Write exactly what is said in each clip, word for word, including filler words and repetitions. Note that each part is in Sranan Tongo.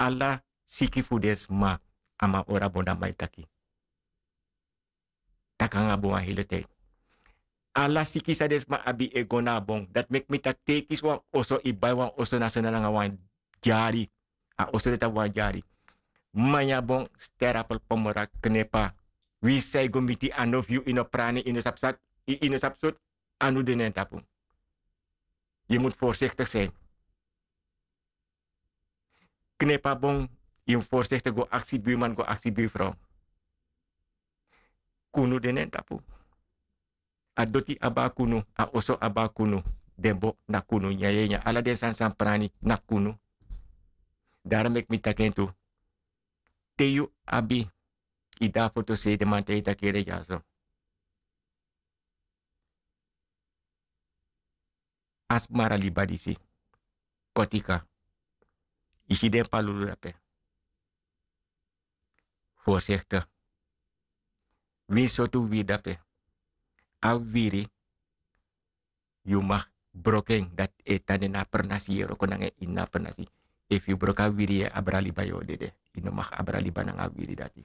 ala siki fu den sma a man ori a bon dan man e taki. Taki nanga bon wan hele tide. Ala siki san den sma abi e go na a bon dati meki mi taki te yu kisi wan oso yu bai wan oso na sona nanga wan dyari. A oso deti abi wan dyari. Manya bon sterapel pomora knepa. Wi san yu go miti a no fu yu yu no prani yu no sabi sati yu no sabi soti. Anu de na en tapu. Yu mus forsiktik sin. Knepa bon yu mus forsiktik go aksi buiman go aksi buifrow. Kunu de na en tapu. A doti abi a kunu. A oso abi a kunu. Den bo na kunu nyanyanyan ala den sani san prani na kunu. Daro meki mi taki en tu. Te yu abi yu de a foto sei den man te yu taki ere dyaso. A smara liba disi. Kotika. Yu si den palulu dape. Forsikte. Winsi sortu wiri dape. A wiri yu mag broko en dati e tan de na a pernasi yu e wroko nanga en ini na a pernasi. Efu yu broko a wiri yu e abra liba yu o dede. Yu no mag abra liba nanga a wiri dati.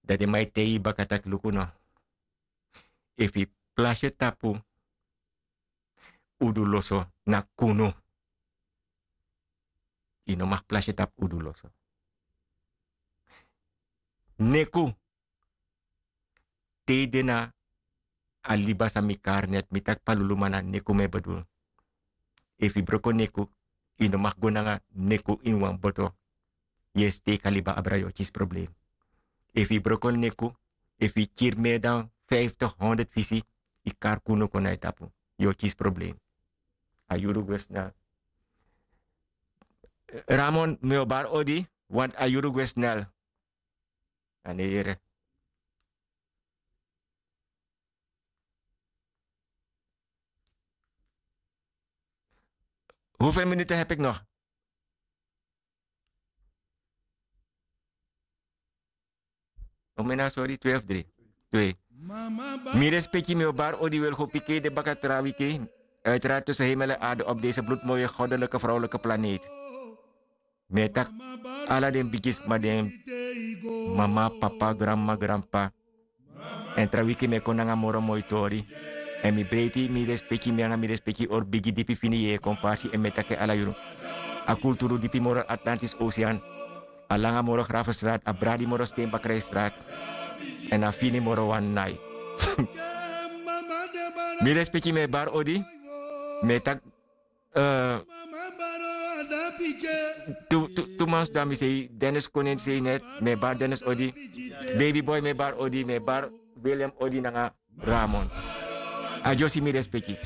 Dan den man e taigi yu baka taki luku no. Efu yu plasi yu tapu udu loso na kunu. Yu no mag plasi yu tapu udu loso. Neku te yu de na a liba san mi kari net mi taki paluluma na neku mi e bedul. Efu yu broko neku yu no mag go nanga neku ini wan boto. Yu e steki a liba abra yu o kisi problem. Efu yu broko neku efu yu kiri meri dan fiftig honderd fisi yu kari kunu kon na yu tapu. Yu o kisi problem. A yuru gwe snel. Ramon mi o bari odi. Want a yuru gwe snel. A ne yere. Hoeveel minuten heb ik nog? Omena sori twee of drie. Twee. Mi respeki mi o bari odi wil go piki de baka tra wiki. Uiteraard tussen hemel en aarde op deze bloedmooie goddelijke vrouwelijke planeet. Mi e taki ala den bigisma den mama papa granma granpa. Èn tra wiki mi e kon nanga moro moi tori. Èn mi breiti mi respeki mi nanga mi respeki ori bigi dipi fini yeye kon parsi èn mi e taki en ala yuru. A kulturu dipi moro atlantis osean. A langa moro grafestrati a bradi moro sten bakrijstrati. Èn a fini moro wan nai. Mi respeki mi e bari odi. Mi e taki tu man sidon na mi sei dennis konen sei net. Mi e bari dennis odi. Baby boy mi e bari odi mi e bari william odi nanga ramon. A dyosi mi respeki.